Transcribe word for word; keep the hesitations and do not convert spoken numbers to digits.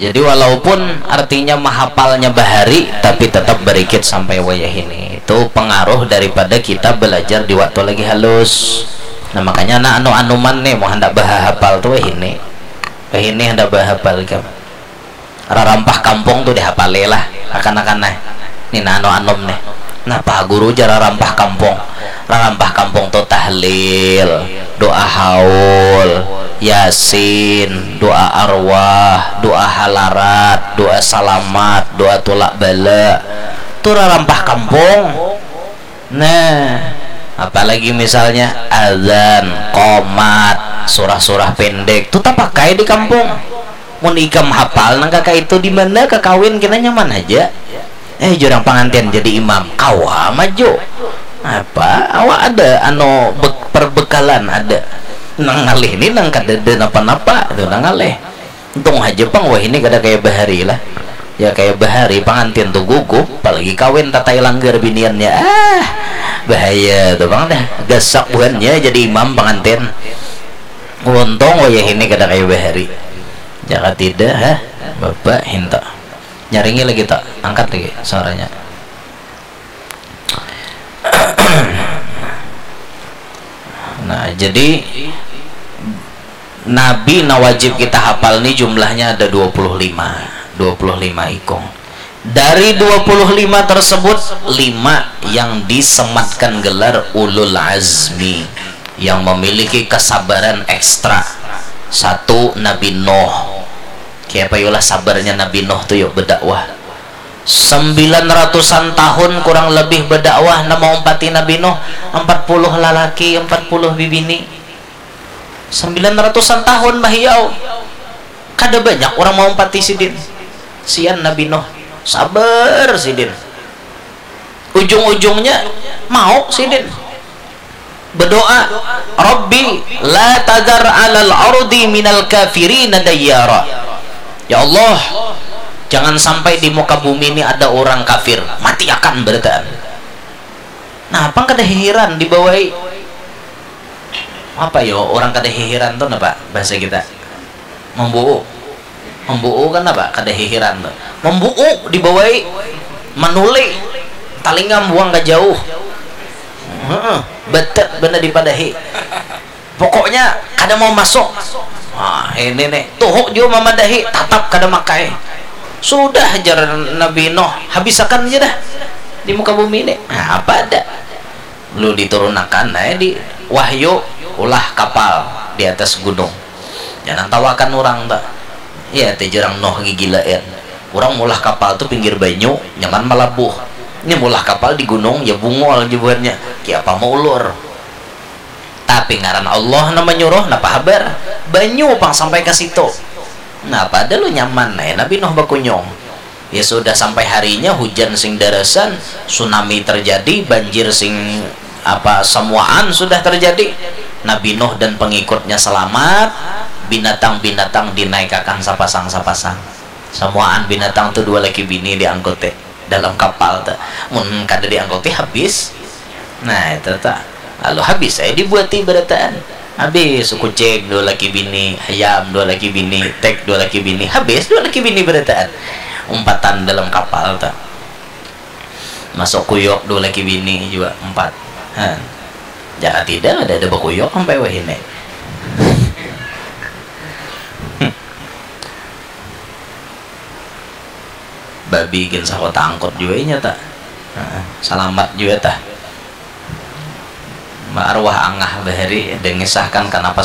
Jadi walaupun artinya mahapalnya bahari, tapi tetap berikit sampai wayah ini. Itu pengaruh daripada kita belajar di waktu lagi halus. Nah, makanya anak anu-anuman nih, mau hendak bahahapal tuh wayah ini. Wayah ini hendak bahahapal ikam. Rarampah kampung tuh dihapali lah, akan-akan nah. Ini nah anu-anum nih. Napa guru jar rarampah kampung? Rarampah kampung tuh tahlil, doa haul, yasin, doa arwah, doa halarat, doa salamat, doa tulak bala. Tuh rarampah kampung. Nah, apalagi misalnya azan, qomat, surah-surah pendek, tuh tapakai di kampung. Mun ikam hapal nang kaka itu, di mana kakawin kena nyaman aja. Eh, jurang pangantin jadi imam, kawa maju. Apa? Awak ada anu be-, perbekalan ada. Nang ngalih ni nang kadada napa-napa tu nang ngalih. Untung haja pang wahini kada kaya bahari lah. Ya kaya bahari pangantin tu gugup, apalagi kawin tatai langgar biniannya. Ah, bahaya tu pang dah. Gasak buhannya jadi imam pangantin. Untung wayahini kada kaya bahari. Jaka tidak, ha? Bapak hinta. Nyaringi lagi tak? Angkat lagi suaranya. Nah, jadi nabi nang wajib kita hafal ni jumlahnya ada dua puluh lima, dua puluh lima ikung. Dari dua puluh lima tersebut, lima yang disematkan gelar ulul azmi, yang memiliki kesabaran ekstra. Satu, Nabi Nuh. Kaya apa yulah sabarnya Nabi Nuh tu yuk berdakwah. Sembilan ratusan tahun kurang lebih berdakwah, nang maumpati Nabi Nuh, empat puluh lalaki, empat puluh bibini. Sembilan ratusan tahun bahiau. Kada banyak urang maumpati sidin. Sian Nabi Nuh, sabar sidin. Ujung-ujungnya mau sidin. Berdoa, "Rabbi la tadar alal ardi minal kafirina dayyara." Ya Allah, jangan sampai di muka bumi ini ada orang kafir, matiakan berataan. Nah, apa kada hihiran dibawai? Apa yo, orang kada hihiran tuh napa bahasa kita? Membuuk. Membuuk kan apa? Kada hihiran tuh. Membuuk dibawai, manuli, talingam buang ke jauh. Heeh, betet bener dipadahi. Pokoknya kada mau masuk. Nah, ini nih, tuhuk juga mamadahi, tatap kada makai. Sudah, jar Nabi Nuh, habisakan aja dah di muka bumi ini. Nah, apa ada? Lu diturunakan, nah, di wahyu, ulah kapal di atas gunung. Jangan tawakan orang tak. Ya, tejurang Nuh gigilaan. Orang mulah kapal tuh pinggir banyu, nyaman malabuh. Ini mulah kapal di gunung, ya bungol jebuhannya. Kiapa mau ulur? Tapi ngaran Allah nang manyuruh, napa habar? Banyu pang sampai ka situ. Nah, pada lu nyaman ai Nabi Nuh bakunyung. Ya sudah, sampai harinya hujan sing darasan, tsunami terjadi, banjir sing apa, samuaan sudah terjadi. Nabi Nuh dan pengikutnya selamat, binatang-binatang dinaikakan sapasang-sapasang. Samuaan binatang tu dua laki bini diangkuti dalam kapal tu. Mun kada diangkuti habis. Nah, itu ta. Lalu habis ai dibuati barataan. Habis kucing dua laki bini, ayam dua laki bini, tek dua laki bini, habis dua laki bini barataan. Umpatan dalam kapal tu. Masuk kuyuk dua laki bini jua, empat. Ha. Jaka tidak ada, ada bakuyuk sampai wahini. Babi gin sahu tangkut jua inya ta. Heeh, salamat jua tah. Arwah angah bahari dengisahkan kanapa